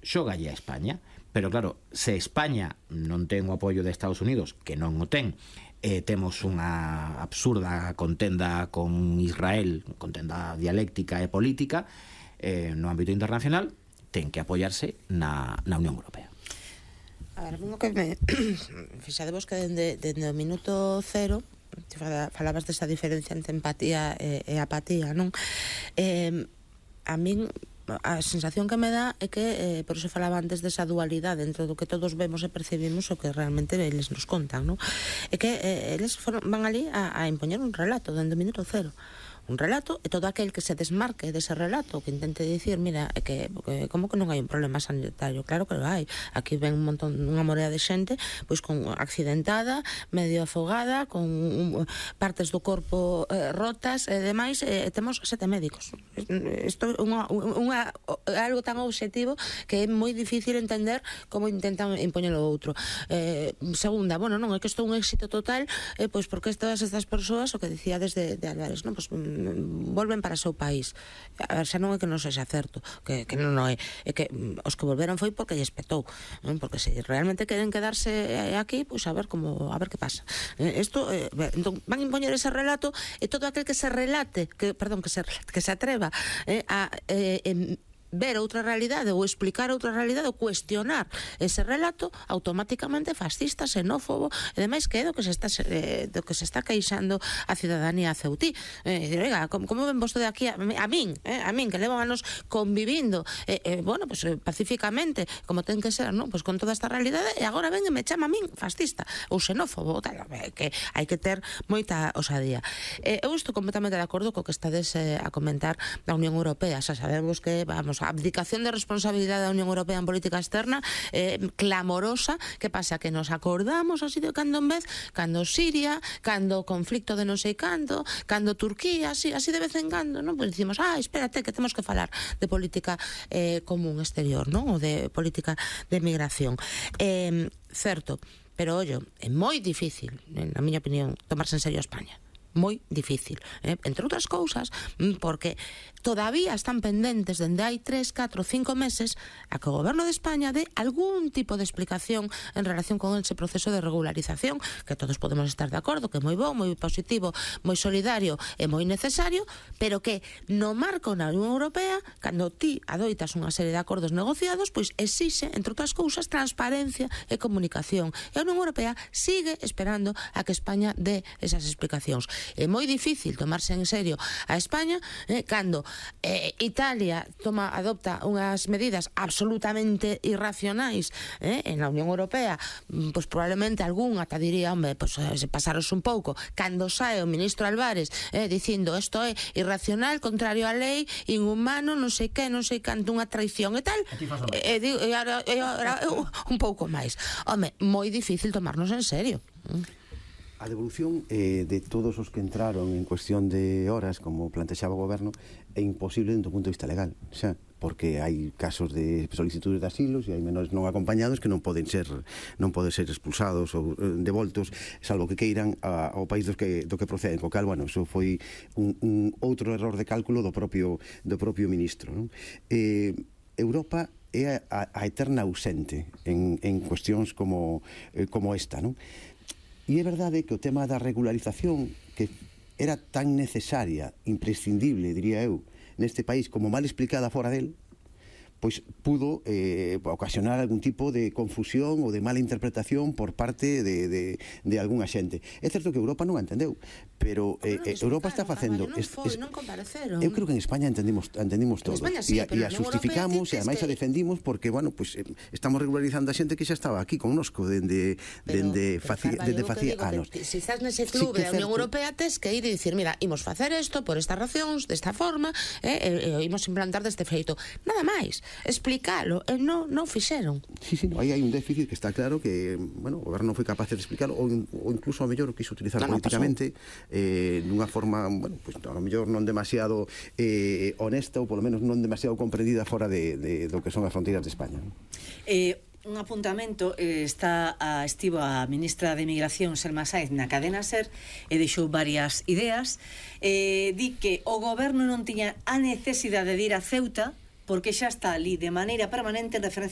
xogalle a España. Pero claro, se España non ten o apoio de Estados Unidos, que non o ten, temos unha absurda contenda con Israel, contenda dialéctica e política no ámbito internacional, ten que apoiarse na Unión Europea. A ver, que me fixadevos que dende o minuto cero falabas desa diferencia entre empatía e apatía, non? A min a sensación que me dá é que por iso falaba antes desa dualidade dentro do que todos vemos e percibimos o que realmente eles nos contan, non? É que eles van ali a impoñer un relato dende o minuto cero, un relato, e todo aquel que se desmarque dese relato, que intente dicir, mira, que como que non hai un problema sanitario, claro que lo hai. Aquí ven un montón, unha morea de xente pois con accidentada, medio afogada, con partes do corpo rotas e demais, temos 7 médicos. Isto é algo tan obxectivo que é moi difícil entender como intentan impoñer o outro. Segunda, bueno, non, é que isto é un éxito total, pois porque todas estas persoas, o que dicía desde Álvarez, non, pois volven para o seu país. A ver, xa non é que non sexa certo, que non é que os que volveron foi porque lles petou, non? Porque se realmente queren quedarse aquí, pois a ver que pasa. Isto, entón, van impoñer ese relato, e todo aquel que se relate, que se atreva a ver outra realidade ou explicar outra realidade ou cuestionar ese relato, automáticamente fascista, xenófobo e demais, que é do que se está queixando a cidadanía ceutí. Oiga, como ven vostede aquí a min, que levan anos convivindo bueno, pues pacíficamente, como ten que ser, non? Pues con toda esta realidade, e agora ven e me chama a min fascista ou xenófobo, tal, que hai que ter moita osadía. Eu estou completamente de acordo co que estades a comentar da Unión Europea. Xa sabemos que, vamos, a abdicación de responsabilidade da Unión Europea en política externa clamorosa. Que pasa? Que nos acordamos así de cando en vez, cando Siria, cando o conflicto de non sei cando Turquía, así de vez en cando, non? Pois dicimos, espérate, que temos que falar de política común exterior, non? Ou de política de migración. Certo, pero ollo, é moi difícil, na miña opinión, tomarse en serio a España. Moi difícil, entre outras cousas, porque todavía están pendentes dende hai 3, 4, 5 meses a que o goberno de España dé algún tipo de explicación en relación con ese proceso de regularización, que todos podemos estar de acordo, que é moi bo, moi positivo, moi solidario e moi necesario, pero que no marco na Unión Europea, cando ti adoitas unha serie de acordos negociados, pois exixe, entre outras cousas, transparencia e comunicación. E a Unión Europea sigue esperando a que España dé esas explicacións. É moi difícil tomarse en serio a España cando Italia adopta unhas medidas absolutamente irracionais en a Unión Europea, pois probablemente algún ata diría, hombre, pois se pasaros un pouco, cando sae o ministro Álvarez dicindo isto é irracional, contrario á lei, inhumano, non sei que, non sei canto, unha traición e tal, e agora un pouco máis. Home, moi difícil tomarnos en serio. A devolución de todos os que entraron en cuestión de horas, como plantexaba o goberno, é imposible dentro do punto de vista legal, xa, porque hai casos de solicitudes de asilos e hai menores non acompañados que non poden ser expulsados ou devoltos, salvo que queiran ao país do que proceden, co cal, bueno, eso foi un outro error de cálculo do propio ministro, non? Europa é a eterna ausente en cuestións como esta, non? E é verdade que o tema da regularización, que era tan necesaria, imprescindible, diría eu, neste país como mal explicada fora del, pois pudo ocasionar algún tipo de confusión ou de mala interpretación por parte de algunha xente. É certo que Europa non a entendeu, pero Europa está facendo... Non compareceron. Eu creo que en España entendimos todos. E a justificamos e ademais a defendimos porque, bueno, pues estamos regularizando a xente que xa estaba aquí connosco dende facía anos. Se estás nese club da Unión Europea, tes que ir e dicir, mira, imos facer isto por estas racións, desta forma, e imos implantar deste feito. Nada máis. Explicalo, e non fixeron. Sí, aí hai un déficit que está claro que, bueno, o goberno non foi capaz de explicarlo ou incluso ao mellor o quiso utilizar políticamente dunha forma, bueno, pues ao mellor non demasiado honesta ou polo menos non demasiado comprendida fora do que son as fronteiras de España. Un apuntamento, estivo a ministra de Migración Selma Sáenz na cadena SER e deixou varias ideas. Di que o goberno non tiña a necesidade de ir a Ceuta porque xa está ali de maneira permanente en referencia